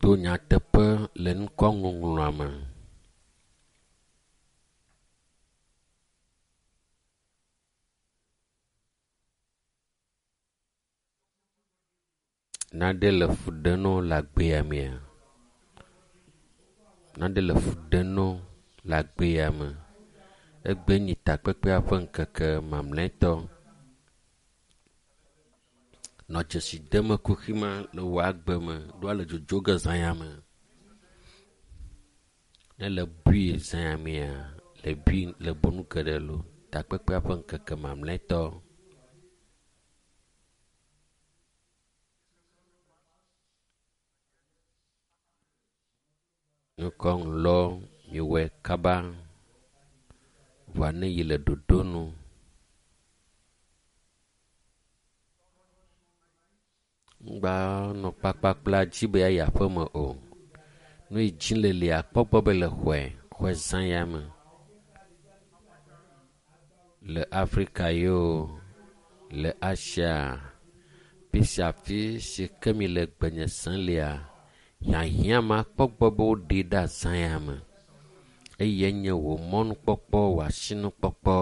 To nyateƒe le ŋkɔŋɔŋlɔa me. Nane le fu ɖem na wo le agbea mea? Nane le fu ɖem na wo le agbea me? Egbe nyi takpekpea ƒe ŋkeke mamlɛtɔ. Nɔ dzesi dem kuxi ma le wò agbe me ɖoa le dzodzo ge zã ya me. Ne le bui zã ya mea, le bui le bonu geɖe lo. Takpekpea ƒe ŋkeke mamlɛtɔ. Nukɔŋlɔ miwɔe kaba vɔa ne yi le ɖoɖo nu. Ŋgba nɔ kpakpakpla dzi be yeayi aƒeme o. Nu yi dzi le lia kpɔ gbɔ be le xɔe, xɔe zã ya me. Le Afrika yo, le Asia, fi sia fi si ke mi le gbenye sem lia, hiahiã ma kpɔ gbɔ be woɖee ɖe azã ya me. Eye nye wò mɔnukpɔkpɔ, wò asinukpɔkpɔ.